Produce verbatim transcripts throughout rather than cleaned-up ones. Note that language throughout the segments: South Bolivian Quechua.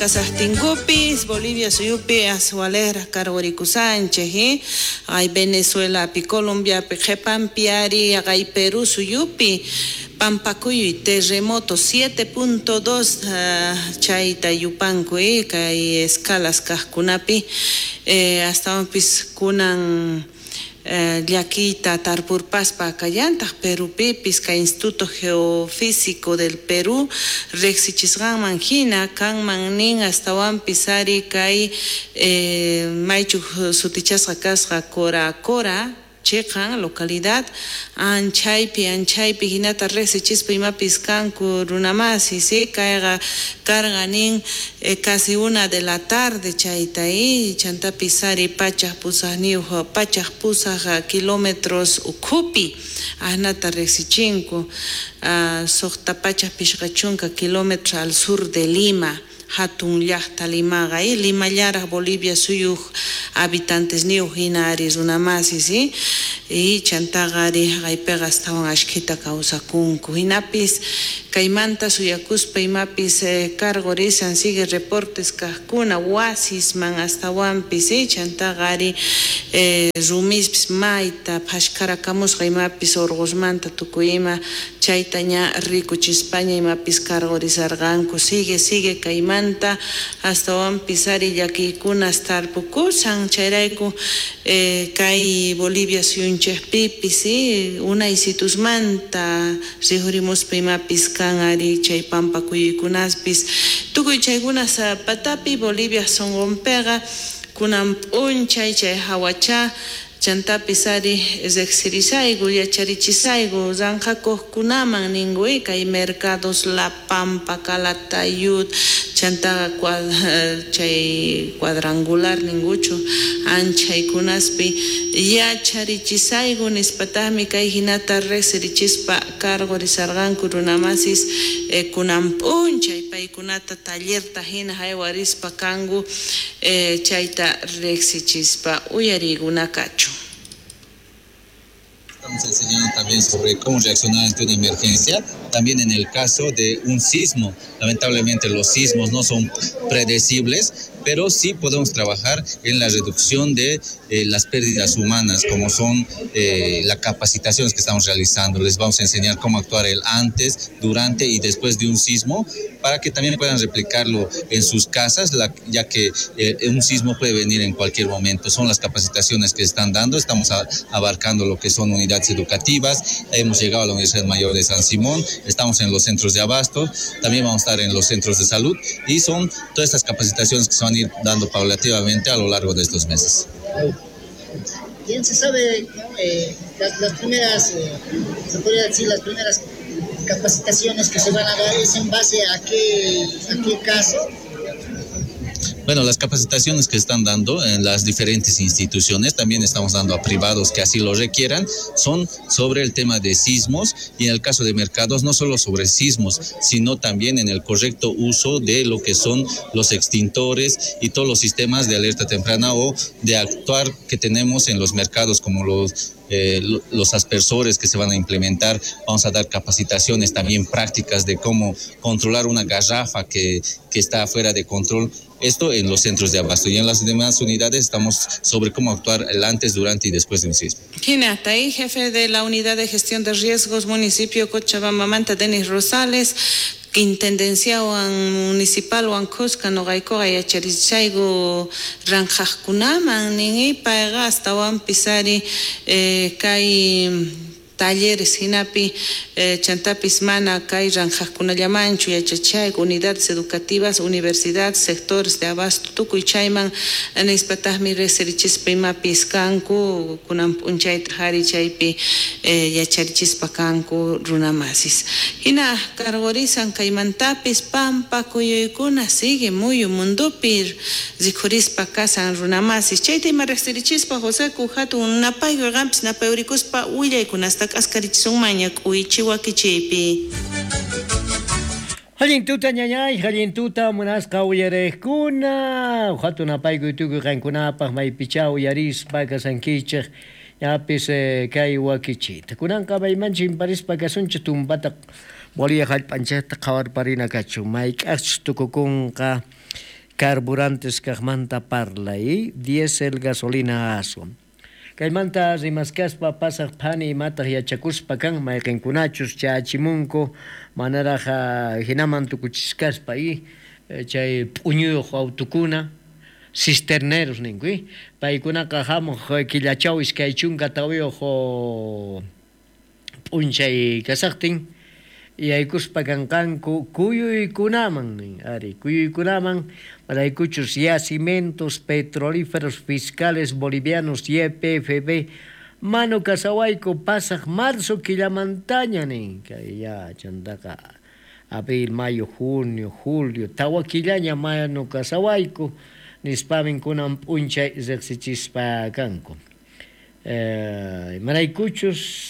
Kasaqtinkupis Bolivia suyupi aswalera karqurikusanchik, eh? Ay Venezuelapi, Colombiapi, qhipanpi ari ay Perú suyupi pampakuyuy terremoto siete punto dos uh, chayta yupanku eh, kay escalas kaqkunapi eh, astawanpis kunan eh, llakiyta tarpurpaspa kallantaq Perupipis kay Instituto Geofísico del Perú riqsichisqanman hina kanman nin astawanpis ari kay eh, maychuq sutichasqa kasqa Cora Cora chiqan localidad anchaypi anchaypi hinata riqsichispa imapis kanku runamasi si kayqa karqa nin eh, casi una de la tarde chayta y chantapis ari pachaq pusaqniyuq pachaq pusaq kilómetros ukhupi asnata riqsichinku uh, suqta pachaq pishqa chunka kilómetros al sur de Lima hatun llaqta Limaqa y Limallaraq Bolivia suyuq habitantes niyuq hina ari runamasi si y chantaqa ari haqaypiqa astawan ashkhita kawsakunku hinapis kaymanta suyakuspa imapis eh, karqurisan sigue reportes kaqkuna wasisman astawanpis eh, chantaqa ari eh, rumispis mayta phashkarakamusqa imapis urqusmanta tukuy ima chayta ña rikuchispaña imapis karqurisarqanku sigue sigue kaymanta astawanpis ari llakiykunas tarpukusan chayrayku eh, kay Bolivia suyunchikpipis eh, unaysitusmanta riqurimuspa imapis kan ari chay pampa kuyuykunaspis tukuy chaykunas patapi Bolivia sunqunpiqa kunan p'unchay chay hawacha chantapis ari riqsirisayku yacharichisayku ranqhakuqkunaman ninku kay mercados La Pampa, Calatayud chantaqa cuad, chay cuadrangular ninkuchu anchaykunaspi yacharichisayku nispataqmi kay hinata riqsirichispa karqurisarqanku runamasis eh, kunan p'unchay paykunata tallerta hina haywarispa kanku eh, chayta riqsichispa uyariykuna kachu. Estamos enseñando también sobre cómo reaccionar ante una emergencia, también en el caso de un sismo. Lamentablemente los sismos no son predecibles, pero sí podemos trabajar en la reducción de eh, las pérdidas humanas, como son eh, las capacitaciones que estamos realizando. Les vamos a enseñar cómo actuar el antes, durante y después de un sismo, para que también puedan replicarlo en sus casas, la, ya que eh, un sismo puede venir en cualquier momento. Son las capacitaciones que están dando, estamos a, abarcando lo que son unidades educativas, hemos llegado a la Universidad Mayor de San Simón, estamos en los centros de abasto, también vamos a estar en los centros de salud, y son todas estas capacitaciones que se van a ir dando paulativamente a lo largo de estos meses. Bien se sabe, ¿no? eh, las, las primeras, eh, se podría decir, las primeras capacitaciones que se van a dar es en base a qué, a qué caso. Bueno, las capacitaciones que están dando en las diferentes instituciones, también estamos dando a privados que así lo requieran, son sobre el tema de sismos y en el caso de mercados, no solo sobre sismos, sino también en el correcto uso de lo que son los extintores y todos los sistemas de alerta temprana o de actuar que tenemos en los mercados, como los Eh, los aspersores que se van a implementar. Vamos a dar capacitaciones también prácticas de cómo controlar una garrafa que, que está fuera de control. Esto en los centros de abasto, y en las demás unidades estamos sobre cómo actuar el antes, durante y después de un sismo. Hina, hasta ahí, jefe de la Unidad de Gestión de Riesgos, municipio Cochabamba, Manta, Denis Rosales, intendenciawan municipalwan kuska noqaykuqa yacharichayku ranqhaqkunaman nin payqa astawanpis ari eh, kay talleres hinapi eh, chantapis mana kay ranqhaqkunallamanchu yachachayku unidades educativas, universidades, sectores de abasto tukuy chayman nispataqmi riqsirichispa imapis kanku kunan p'unchayta hari chaypi eh, yacharichispa kanku runamasis. Hina karqurisan kaymantapis pampa kuyuykuna sigue muyu mundupi rikhurispa kasan runamasis chayta ima riqsirichispa José hatun napayku qampis napayurikuspa willaykunasta k'askarichisunmaña k'uychi wakichiypi. Allin tuta ñañay, allin tuta munasqa uyariqkuna, hatun napaykuy tukuy qankunapaq maypicha uyarispa kasankichik ñapis eh, kay wakichita. Kunanqa maymanchik parispa kasunchik tumpata Bolivia hallp'anchikta qhawarparina kachun mayk'aqchus tukukunqa Carburantes kajmanta parlay, diésel, gasolina, aswan. Kaymanta rimaskaspa pasaq phani imataq yachakuspa kan mayqinkunachus chachimunku manaraj hinaman tukuchiskaspa y chay p'uñuyuq autukuna cisterneros ninku y paykunaqa hamuq killachaw iskay chunka tawiyuq p'unchay kasaqtin yaykuspa kanqanku kuyuykunaman nin ari kuyuykunaman maraykuchus yacimientos petrolíferos fiscales bolivianos Y P F B manu kasawayku pasaq marzo killamantaña nin kay ya chantaqa abril, mayo, junio, julio tawa killaña manu kasawayku nispamin kunan p'unchay riqsichispa kanku eh, maraykuchus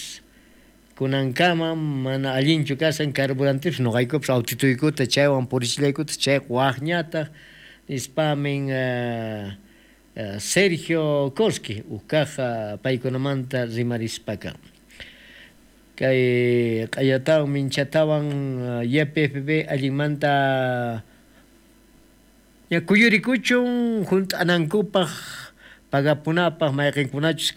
kunankama mana allinchu kasan carburantepis noqaykupis autituykuta chaywan purichillaykuta chayqa waqñataq nispamin uh, uh, Sergio Koski uqkaq paykunamanta rimarispaqa kay q'ayatawan minchatawan Y P F B allinmanta ya kuyurikuchun hunt'anankupaq pagapunapaq mayqinkunachus.